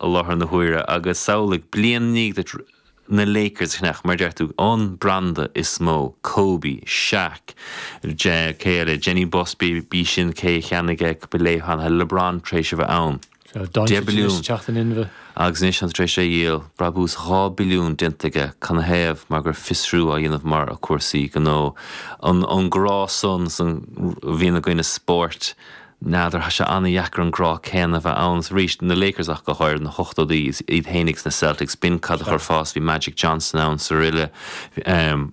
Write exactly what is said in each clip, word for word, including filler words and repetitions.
i láthair na huaire agus samhlaigh bliain i ndiaidh duit na Lakers a cheannach, mar a deir tú, an branda is mó, Kobe, Shaq, cé eile, Jeanie Buss, b'í sin cé a cheannaigh é cúpla lá ó shin, LeBron tar éis a bheith ann. Deich billiún. Agus anois tá tar éis é a dhíol, brabús dhá billiún déanta aige, canathaobh? Mar go raibh fiosrú á dhéanamh mar a cúrsaí gnó. An grá san a bhíonn againn i spóirt, n'fheadar, tá sé an-dheacair an grá céanna a bheith ann. Is arís, na Lakers ach go háirithe, na hochtóidí, iad féin agus na Celtics, b'in cad a chuir fás, bhí Magic Johnson ann is araile.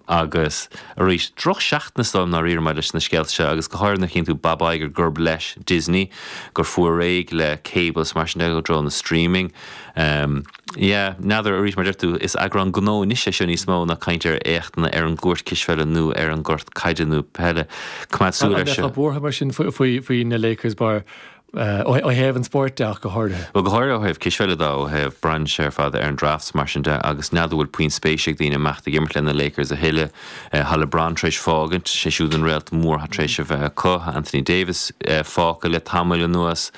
Agus arís, drochsheachtain is dóigh liom ndáiríre maidir leis na scéalta seo agus go háirithe nuair a chíonn tú Bob Iger gurb leis Disney, gur fuair réidh le cable is mar sin de, i dtreo na streaming. Yeah, n'fheadar, arís mar a deir tú, is eagrán gnó anois é seo níos mó ná caint ar éachtanna ar an gcúirt cispheile nó ar an gcúirt caide nó peile. Coimeád súil air seo. An mbeifeá buartha mar sin faoi faoi na Lakers bar ó thaobh an spóirt de ach go háirithe? Bhuel, go háirithe ó thaobh cispheile de, ó thaobh braitheann sé ar fad ar an draft is mar sin de agus n'fheadar an bhfuil puinn spéise ag daoine imeacht ag imirt le na Lakers a thuilleadh. Tá LeBron tar éis fágaint, sé siúd an réalt mór atá tar éis a bheith acu. Tá Anthony Davis fágtha le tamall anuas.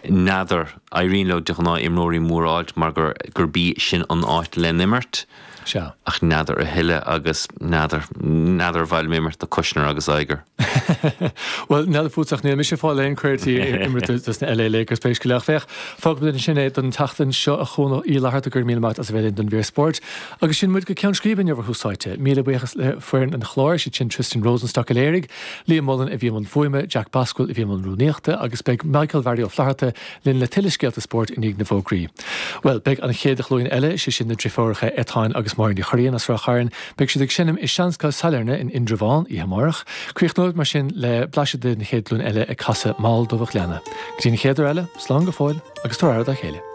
N'fheadar. Éiríonn leo de ghnáth imreoirí móra a fháilt mar gur gurb í sin an áit le n-imirt. Sea. Ach n'fheadar a thuilleadh agus n'fheadar, n'fheadar ar mhaith liom imirt do Kushner agus Iger. Bhuel, n'fheadar fútsa ach níl mise ag fáil aon cuireadh imirt dos na LA Lakers pé scéal é. Ach féach, fágfaimid ansin é don tseachtain seo a Chónaidhm Uí Fhlatharta, go raibh míle maith agat as a bheith linn don mhír spóirt. Agus sin muid go ceann scríbe inniu ar Thús Áite. Míle buíochas le foireann an chláir, siad sin Tristan Rosenstock a léirigh, Liam Mullen a bhí i mbun fuaime, Jack Basquill a bhí i mbun rúnaíochta agus beidh Michael Mhary Ó Flatharta linn le tuilleadh scéalta spóirt i ndiaidh na bhfógraí. Bhuel, beidh an chéad ghlúin eile, sé sin na driofúracha Etáin agus Máire Ní Churraoin as Ráth Chairn, beidh siad ag seinm i Seanscoil Sailearna in Indreabhán oíche amárach. Críochnóimid mar sin le blaiseadh den chéad ghlúin eile ag casadh Mall Dubh an Ghleanna. Go dtí an chéad uair eile, slán go fóill agus tabhair aire dá chéile.